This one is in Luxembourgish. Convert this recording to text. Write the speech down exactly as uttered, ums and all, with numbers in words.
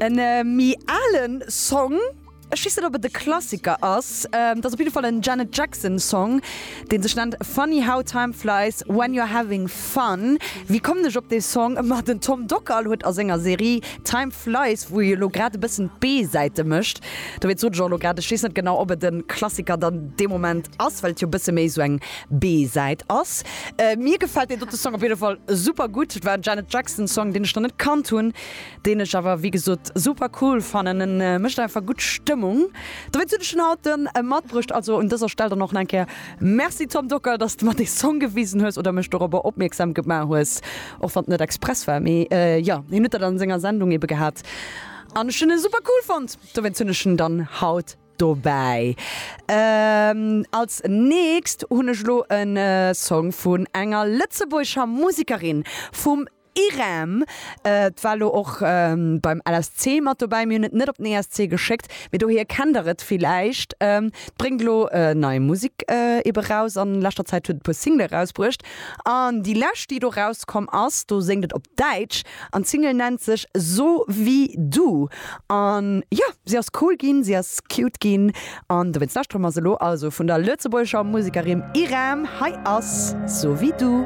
En méi alen Song, ech weess net ob et e Klassiker ass, et ass op jidde Fall en Janet Jackson Song, dee sech nennt Funny How Time Flies When You're Having Fun. Wéi kommen ech op dee Song? Ma den Tom Dockal huet a senger Serie Time Flies, wou e elo grad e bëssen d'B-Säite mécht, dowéinst sot ech och elo grad, ech weess net genau ob et e Klassiker dann dee Moment ass, well et jo e bësse méi esou eng B-Säit ass. Mir gefält deen dote Song op jidde Fall super gutt. Et war en Janet Jackson Song, deen ech nach net kannt hunn, deen ech awer wéi gesot super cool fannen. En mécht einfach gutt Stëmmung. Dowéinst hunn ech en haut dann matbruecht. Also un dëser Stell dann och nach eng Kéier Merci Tom Dockal, dass de mer dee Song gewisen hues oder mech dorobber opmierksam gemaach hues, och wann et net express war. Mee jo, hien huet dat an senger Sendung ebe gehat an ech hunn e super cool fonnt. Dowéinst hunn ech en dann haut dobäi. Als nächst hunn ech elo e Song vun enger lëtzebuergescher Musekerin, vum Irem. Et war elo och beim L S C mat dobäi. Mir hunn et net op den E S C geschéckt, mee dohier kennt der et villäicht. Et bréngt elo nei Musek ebe raus. An leschter Zäit huet et e puer Single erausbruecht. An déi lescht, déi do rauskomm ass, do séngt et op Däitsch an d'Single nennt sech So wie du. An jo, si ass cool ginn, si ass cute ginn an dowéinst lauschtere mer se elo. Also vun der lëtzebuergescher Musekerin Irem, hei ass So wie du.